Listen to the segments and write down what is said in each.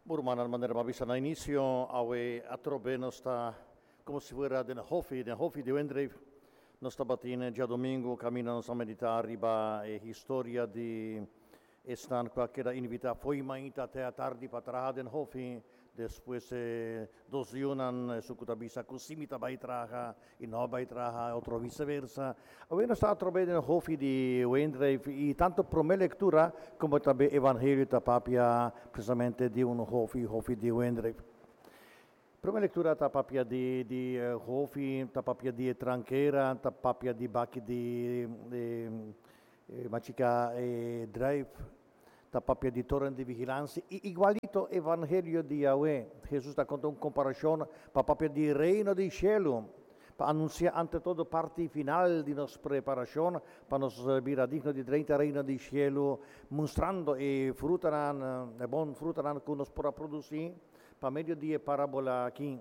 Rumannan, manera mi a bisa na inisio, awe atrobe nos ta komo si fuera den hòfi, den hòfi di wendreif. Nos tabatin djadumingu kaminda nos a meditá riba e historia di esnan ku a keda invitá fo'i mainta te atardi pa traha den hòfi. Despues e dos yunan, esun ku ta bisa ku si mi ta bai traha i no a bai traha, e otro viseversa. Awe nos ta atrobe den hòfi di wendreif i tantu promé lektura komo tambe evangelio ta papia presisamente di un hòfi, hòfi di wendreif. Promé lektura ta papia di di hòfi, ta papia di e trankera, ta papia di baki di machiká e druif. Ta papia di toren di vigilansia i igualito evangelio di Yahweh. Hesus ta konta un komparashon pa papia di Reino di shelu, pa anunsiá ante todo parti final di nos preparashon pa nos bira digno di drenta Reino di shelu, mustrando e frutanan, e bon frutanan ku nos por a produsí pa medio di e parabola aki.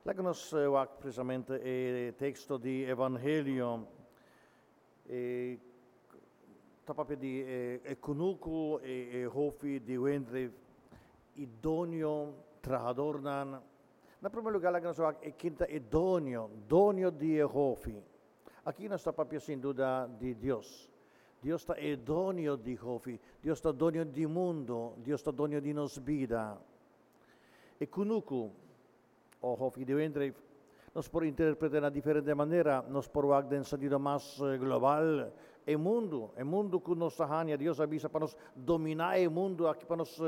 Laga nos wak presisamente e teksto di evangelio. E ta papia di e kunuku, e hofi di wendre i doño, trahadornan. Na promé lugá laga nos wak e ken ta e doño, doño di e hofi. Aki nos ta papia sin duda di Dios. Dios ta e doño di hofi, Dios ta doño di mundu, Dios ta doño di nos bida. E kunuku. O hofi di wendreif. Nos por interpreta na diferente manera. Nos por wak den sentido mas global e mundu, e mundu ku nos ta haña. Dios a bisa pa nos dominá e mundu aki, pa nos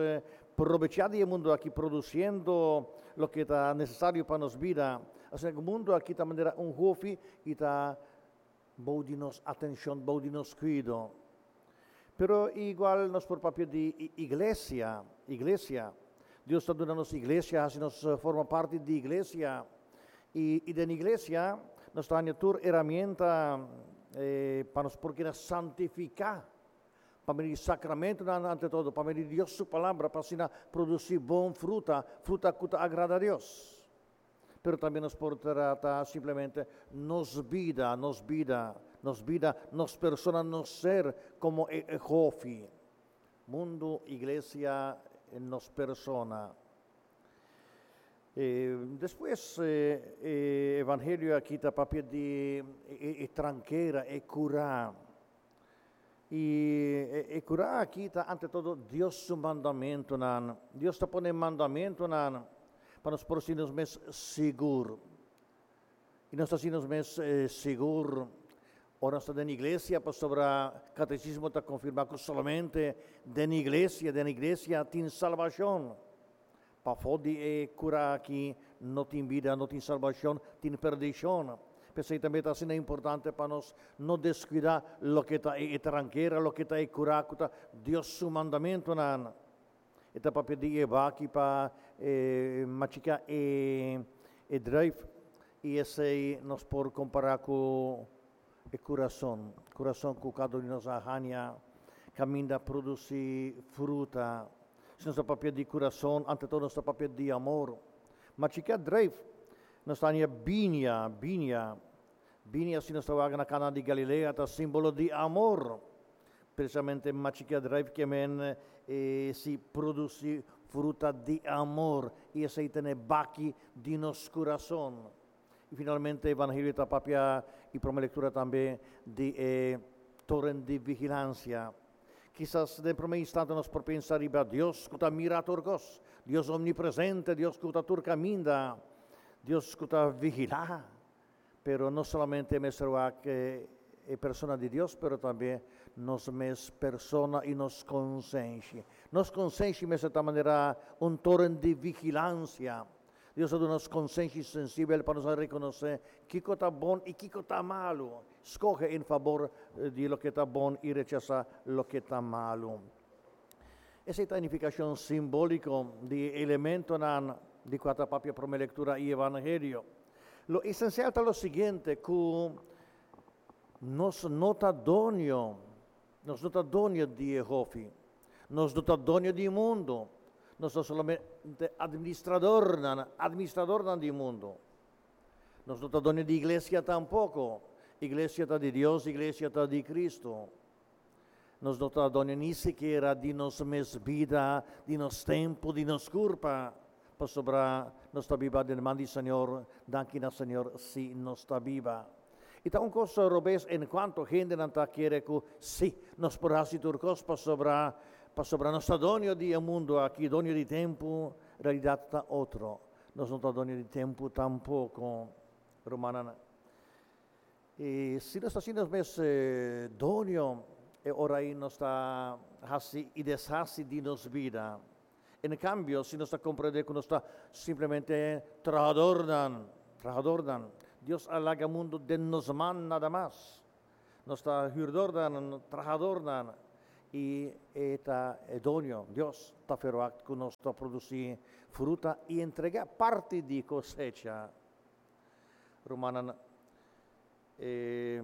probechá di e mundu aki produsiendo loke ta nesesario pa nos bida. Asina ku mundu aki ta manera un hofi i ta bou di nos atenshon, bou di nos kuido. Pero igual nos por papia di iglesia, iglesia. Dios ta duna nos iglesia, hasi nos forma parti di iglesia. I, i den iglesia nos ta haña tur herramienta pa nos por keda santifiká, pa medio di sakramentonan ante todo, pa medio di Dios su palabra, pa asina produsí bon fruta, fruta ku ta agrada Dios. Pero tambe nos por trata simplemente nos bida, nos bida, nos bida, nos persona, nos ser komo e e hofi. Mundu, iglesia, nos persona. Despues e evangelio aki ta papia di e trankera, e kurá. I e kurá aki ta ante todo Dios su mandamentunan. Dios ta pone mandamentunan pa nos por sinti nos mes sigur. I nos ta sinti nos mes sigur ora nos ta den iglesia pasobra katesismo ta konfirmá ku solamente den iglesia, den iglesia tin salbashon. Pafó di e kura aki no tin bida, no tin salbashon, tin perdishon. P'esei tambe ta asina importante pa nos no deskuidá loke ta e trankera, loke ta e kura ku ta Dios su mandamentunan. E ta papia di e baki pa e machiká e e druif i esei nos por kompará ku e kurason, kurason ku kada un di nos a haña kaminda produsí fruta. Si nos ta papia di kurason, ante todo nos ta papia di amor. Ma chikia dreif, nos ta haña biña, biña. Biña si nos ta wak na Kana di Galilea ta simbolo di amor. Presisamente machikia dreif ke men si produsí fruta di amor i esei ta na e baki di nos kurason. I finalmente Evangelio ta papia i prome lectura tambe di e toren di vigilancia. Kisas den prome instante nos por pensa riba Dios cu ta mira tur cos, Dios omnipresente, Dios cu ta tur caminda, Dios cu ta vigila. Pero no solamente mester wak e persona di Dios, pero tambe nos mes persona i nos consenshi. Nos consenshi mester ta manera un toren di vigilancia. Dios a duna nos konsenshi sensibel pa nos a rekonosé kiko ta bon i kiko ta malu, skohe en fabor di loke ta bon i rechasá loke ta malu. Esei ta e nifikashon simbóliko di e elementonan di kua ta papia Promé Lektura i Evangelio. Lo esensial ta lo siguiente, ku nos no ta doño, nos no ta doño di e hofi. Nos no ta doño di mundu, nos ta solamente administradornan, administradornan di mundu. Nos no ta doño di iglesia tampoko, iglesia ta di Dios, iglesia ta di Cristo. Nos no ta doño ni sikiera di nos mes bida, di nos tempu, di nos kurpa, pasobra nos ta biba den man di Señor, danki na Señor si nos ta biba. I ta un kos robes en kuanto hendenan ta kere ku si, nos por hasi tur kos pasobra pasobra nos ta doño di e mundu aki, doño di tempu, realidat ta otro, nos no ta doño di tempu tampoko, rumannan. I si nos ta hasi nos mes doño, e ora ei nos ta hasi i deshasi di nos bida. En kambio, si nos ta komprendé ku nos ta simplemente trahadornan, trahadornan, Dios a laga mundu den nos man nada mas. Nos ta hürdornan, trahadornan, i e ta e doño, Dios, ta ferwagt ku nos ta produsí fruta i entregá parti di kosecha. Rumannan, e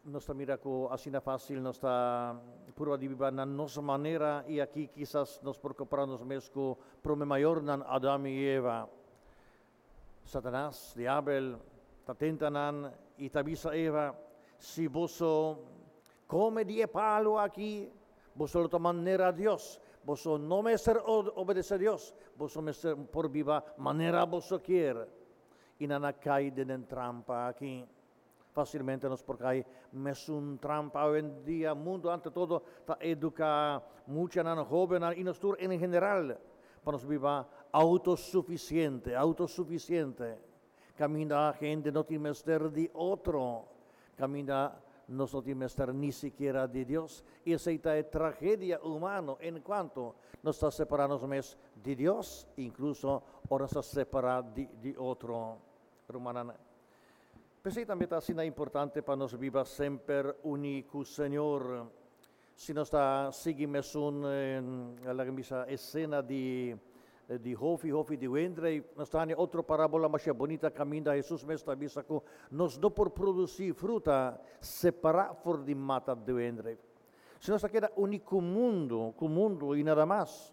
nos ta mira ku asina fásil nos ta purba di biba na nos manera i aki kisas nos por kompará nos mes ku promé mayornan Adam i Eva. Satanas, Diabel, ta tenta nan i ta bisa Eva, Si boso kome di e palu aki, boso lo ta manera Dios. Boso no mester obedesé Dios, boso mester por biba manera boso kier. I nan a kai den den trampa aki. Fásilmente nos por kai mesun trampa awendia. Mundu ante todo ta eduká muchanan, hóbennan i nos tur en general pa nos biba outosufisiente, outosufisiente. Kaminda hende no tin mester di otro, kaminda nos no tin mester ni sikiera di Dios. I esei ta e tragedia humano en kuanto nos ta separá nos mes di Dios, inkluso ora nos ta separá di di otro. Rumannan, p'esei tambe ta asina importante pa nos biba semper uní ku Señor. Si nos ta sigui mesun, laga bisa, esena di di hofi, hofi di wendrei, nos ta haña otro parábola masha bunita kaminda Hesus mes ta bisa ku nos no por produsí fruta separá for di mata di wendrei. Si nos ta keda uní ku mundu, ku mundu i nada mas,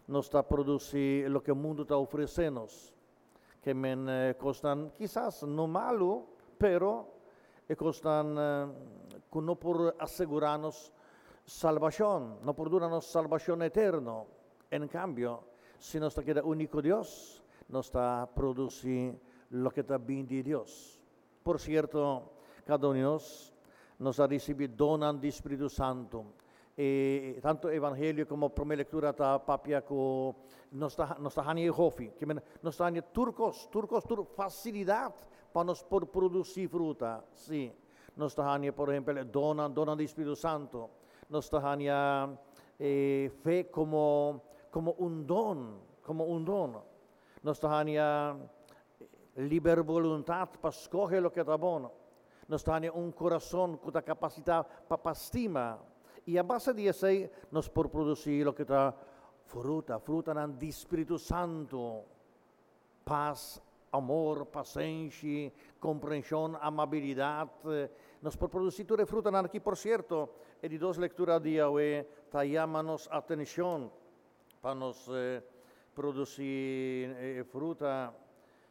nos ta produsí loke mundu ta ofresé nos. Ke men kosnan kisas no malu, pero e kosnan ku no por asegurá nos salbashon, no por duna nos salbashon eterno. En kambio, si nos ta keda uní ku Dios, nos ta produsí loke ta bin di Dios. Por sierto, kada un di nos, nos a risibí donnan di Spiritu Santu. E tantu Evangelio komo Promé Lektura ta papia ku nos ta nos ta haña e hofi, ke men nos ta haña tur kos, tur kos, tur fasilidat pa nos por produsí fruta. Sí, nos ta haña por ehèmpel e donnan, donnan di Spiritu Santu. Nos ta haña e fe komo komo un don, komo un don. Nos ta haña liber boluntat pa skohe loke ta bon. Nos ta haña un kurason ku ta kapasitá pa pa stima. I a base di esei nos por produsí loke ta fruta, frutanan di Spiritu Santu, pas, amor, pasenshi, komprenshon, amabilidat. Nos por produsí tur e frutanan aki. Por sierto, e di dos lektura di awe ta yama nos atenshon pa nos produsí e fruta.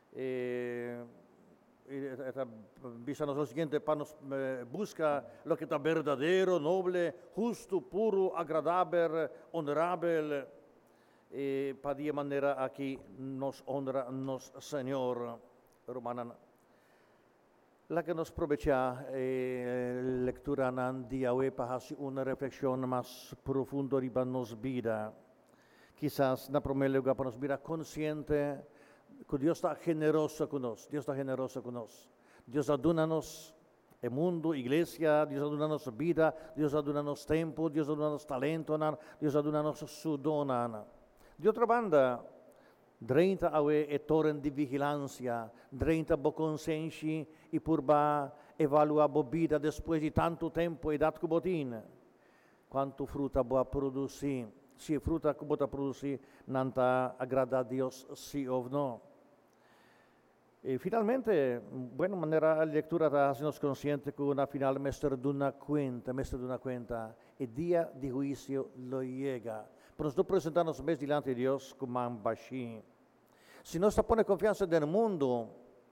E ta bisa nos lo siguiente, pa nos buska loke ta berdadero, noble, hustu, puru, agradabel, onorabel, i pa di e manera aki nos honra nos Señor. Rumannan, laga nos probechá e lekturanan di awe pa hasi un reflekshon mas profundo riba nos bida. Kisas na promé lugá pa nos bira konsiente ku Dios ta generoso ku nos. Dios ta generoso ku nos. Dios a duna nos e mundu, iglesia, Dios a duna nos bida, Dios a duna nos tempu, Dios a duna nos talentonan, Dios a duna nos su donnan. Di otro banda, drenta awe e toren di vigilansia, drenta bo konsenshi i purba evaluá bo bida despues di tantu tempu, edat ku bo tin. Kuantu fruta bo a produsí? Si e fruta ku bo ta produsí nan ta agradá Dios sí òf no? I finalmente, bueno, manera e lektura ta hasi nos konsiente ku na final mester duna kuenta, mester duna kuenta. E dia di huisio lo yega. Pero nos no presentá nos mes dilanti di Dios ku man bashí. Si nos ta pone konfiansa den mundu,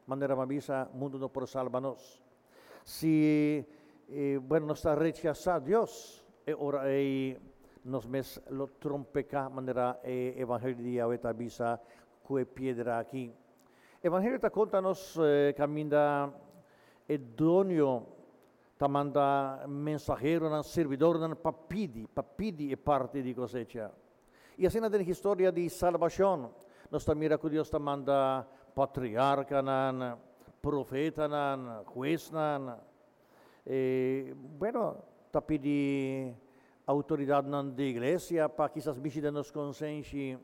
manera mi a bisa, mundu no por salba nos. Si, bueno, nos ta rechasá Dios, e. E ora ei nos mes lo trompeká manera e Evangelio di awe ta bisa ku e piedra aki. Evangelio ta konta nos kaminda e doño ta manda mensaheronan, sirbidornan pa pidi, pa pidi e parti di kosecha. I asina den historia di salbashon nos ta mira ku Dios ta manda patriarkanan, profetanan, huesnan, E, bueno, ta pidi outoridatnan di iglesia pa kisas mishi den nos konsenshi,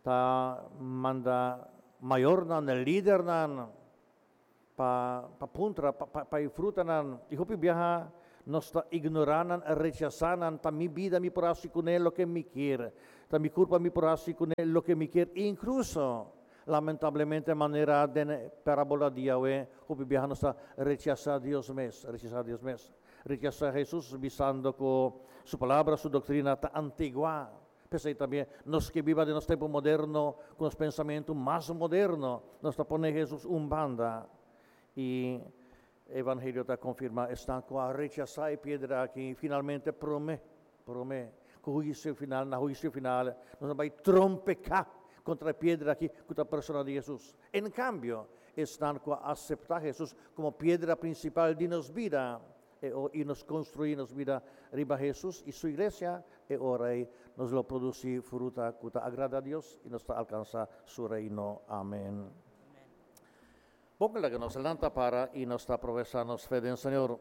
ta manda mayornan, lidernan pa pa puntra pa pa pa e frutanan. I hopi biaha nos ta ignorá nan, rechasá nan, ta mi bida mi por hasi kuné loke mi kier, ta mi kurpa mi por hasi kuné loke mi kier, inkluso Lamentablemente manera den e parabola di Yahweh, hopi biaha nos ta rechasá Dios mes, rechasá Dios mes, rechasá Hesus bisando ku Su palabra, Su doktrina ta antiguá. P'esei tambe nos ke biba den nos tempu moderno ku nos pensamentu mas moderno, nos ta pone Hesus un banda. I Evangelio ta konfirmá esnan ku a rechasá e piedra aki finalmente promé, promé ku huisio final, na huisio final nos a bai trompeká kontra e piedra aki ku ta persona di Hesus. En kambio, esnan ku a aseptá Hesus komo piedra prinsipal di nos bida e i nos konstruí nos bida riba Hesus i su iglesia, e ora ei nos lo produsí fruta ku ta agrada Dios i nos ta alkansá su Reino. Amen. Bon laga nos lanta para i nos ta profesá nos fe den Señor.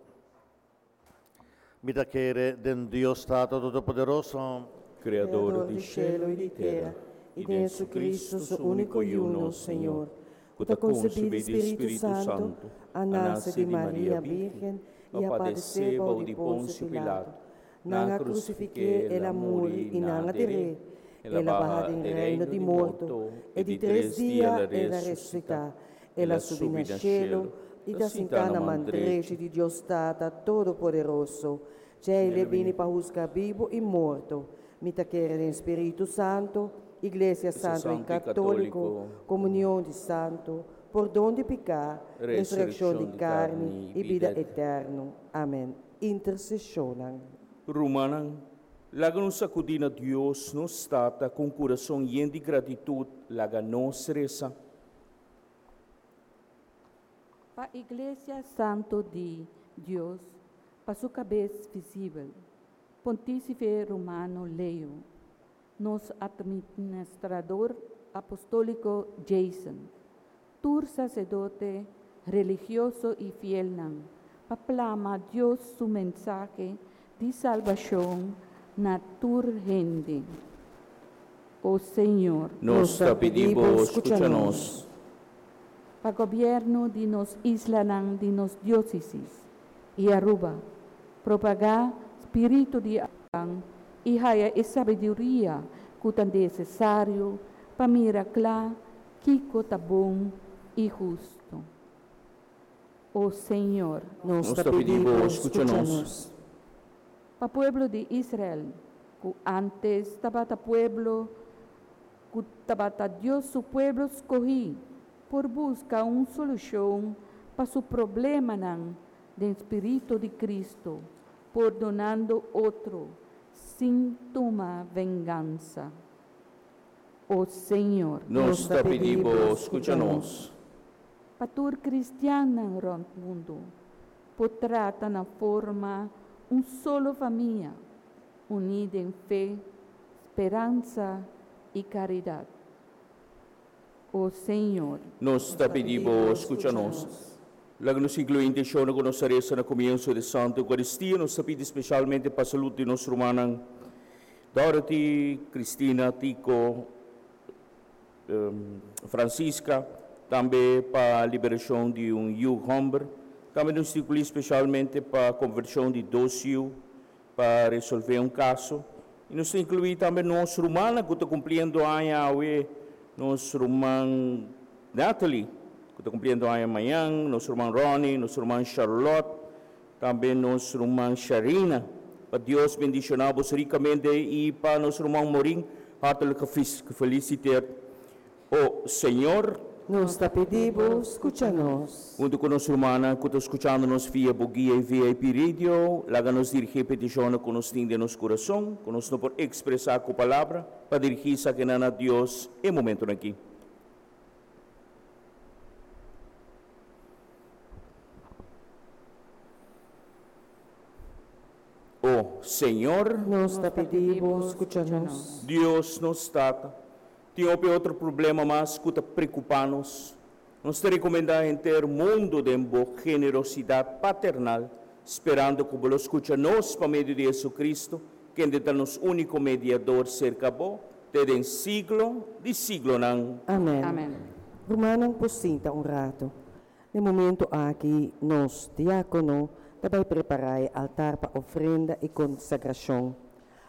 Mi ta kere den Dios Tata Todopoderoso, Kreador di shelu i di tera, i den Jesucristo, su úniko Yu, nos Señor, ku ta konsebí di Spiritu Santu, a nase di Maria Bírgen i a padesé bou di Ponsio Pilato. Nan a krusifik'é, el a muri i nan a der'é. El a baha den reino di morto, e di tres dia el a resusitá. El a subi na shelu i ta sintá na man drechi di Dios Tata Todopoderoso. Djei el e bini pa husga bibu i morto. Mi ta kere den Spiritu Santu, Iglesia Santu i Katóliko, komunion di santu, pordon di piká, resurekshon di karni i bida eterno. Amen. Interseshonnan. Rumannan, laga nos akudí na Dios, nos Tata, ku un kurason yen di gratitut, laga nos resa. Pa Iglesia Santu di Dios, pa su kabes visibel, Pontísife Romano Leo, nos Atministrador Apostóliko Jason, tur saserdote, religioso i fielnan, pa plama Dios su mensahe di salbashon na tur hende. O Señor. Nos ta pidi Bo skucha nos. Pa gobièrnu di nos islanan di nos diósesis i Aruba, propagá spiritu di i haya e sabiduria ku ta nesesario pa mira kla kiko ta bon i hustu. O Señor. Nos ta pidi Bo, skucha nos. Pa pueblo di Israel, ku ántes tabata pueblo ku tabata Dios su pueblo skohí, por buska un solushon pa su problemanan den spiritu di Kristu, pordonando otro sin tuma vengansa. O Señor. Nos ta pidi Bo, skucha nos. Pa tur kristiannan rònt mundu por trata na forma un solo famia, uní den fe, speransa i karidat. O Señor. Nos ta pidi Bo, skucha nos. Laga nos inkluí intenshonnan ku nos a resa na komienso di Santa Eukaristia. Nos ta pidi spesialmente pa salud di nos rumannan Dorothy, Cristina, Tico, Francisca, tambe pa liberashon di un yu hòmber. Tambe nos ta inkluí spesialmente pa konvershon di dos yu pa resolvé un kaso. I nos ta inkluí tambe nos rumannan ku ta kumpliendo aña awe, nos ruman Natalie ku ta kumpliendo aña mañan, nos ruman Ronnie, nos ruman Charlotte, tambe nos ruman Sharina. Pa Dios bendishoná bos rikamente i pa nos ruman Morin hartelijk gefeliciteerd. O Señor. Nos ta pidi Bo, skucha nos. Huntu ku nos rumannan ku ta skuchando nos via bo guia i VIP Radio, laga nos dirigí e petishonnan ku nos tin den nos kurason, ku nos no por ekspresá ku palabra, pa dirigí esakinan na Dios e momentunan akí. O Señor. Nos ta pidi Bo, skucha nos. Dios nos Tata, Tin hopi otro problema mas ku ta preokupá nos. Nos ta rekomendá henter mundu den bo generosidat paternal, sperando ku bo lo skucha nos pa medio di Hesu-Kristu, kende ta nos úniko mediador serka bo, te den siglo di siglonan. Amèn. Amèn. Rumannan por sinta un ratu. Na e momentu aki nos diákono ta bai prepará e altar pa ofrenda i konsagrashon.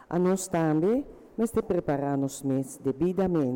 Anos tambe mester prepará nos mes debidamente.